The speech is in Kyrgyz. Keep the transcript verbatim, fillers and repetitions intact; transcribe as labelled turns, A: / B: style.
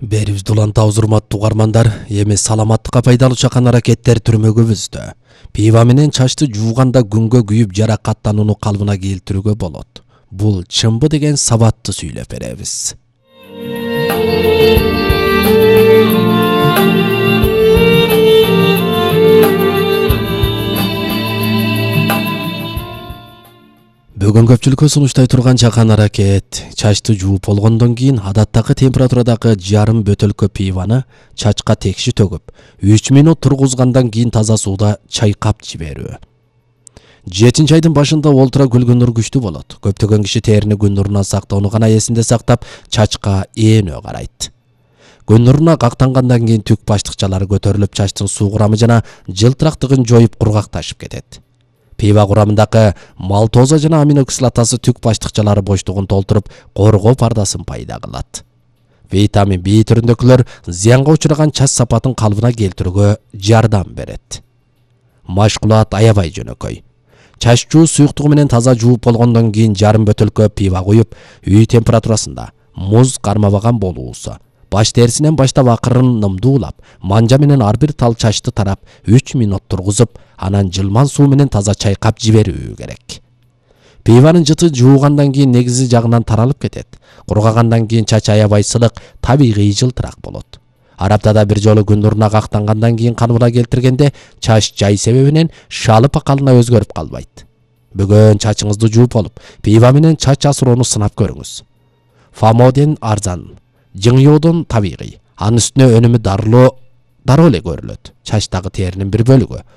A: Берибизди улантабыз урматтуу угармандар. Эми саламаттыкка пайдалуу чакан аракеттер түрмөгүбүздө. Пива менен чачты жууганда күнгө күйүп жаракаттанууну калыбына келтирүүгө болот. Бул чынбы деген сабатты сүйлөп беребиз. Бүгүн көпчүлүккө сунуштай турган чакан аракет. Чачты жууп болгондон кийин адаттагы температурадагы жарым бөтөлкө пиваны чачка текши төгүп, үч мүнөт тургузгандан кийин таза сууда чайкап жиберүү. Жетинчи айдын башында олтура күлгүн нур күчтүү болот. Көптөгөн киши терини күн нурунан сактоону гана эсинде сактап, чачка ээнөө карайт. Күн нуруна кактангандан кийин түк баштыкчалары көтөрүлүп, чачтын суу курамы жана жылтырактыгын жоюп кургакташып кетет. Пива курамындагы малтоза жана аминокислотасы түк баштыкчалары боштугун толтуруп, коргоо пардасын пайда кылат. Витамин B түрүндөгүлөр зыянга учураган чач сапатын калыбына келтирүүгө жардам берет. Машкулат аябай жөнөкөй. Чач жуу суюктугу менен таза жууп болгондон кийин жарым бөтөлкө пива куюп, үй температурасында муз кармабаган болуусу. Баш терисинен баштап акырын нымдуулап, манжа менен ар бир тал чачты тарап үч мүнөт тургузуп, анан жылман суу менен таза чайкап жиберүү керек. Пиванын жыты жуугандан кийин негизи жагынан таралып кетет. Кургагандан кийин чач аябай сылык, табигый жылтырак болот. Ар аптада бир жолу күн нуруна кактангандан кийин калыбына келтиргенде чач жай себебинен шалы пакалына өзгөрүп калбайт. Бүгүн чачыңызды жууп болуп, пива менен чач асыроону сынап көрүңүз. Фамоден арзан, жыңыоодон табигый. Анын үстүнө өнүмү дарылоо дароо эле көрүлөт. Чачтагы теринин бир бөлүгү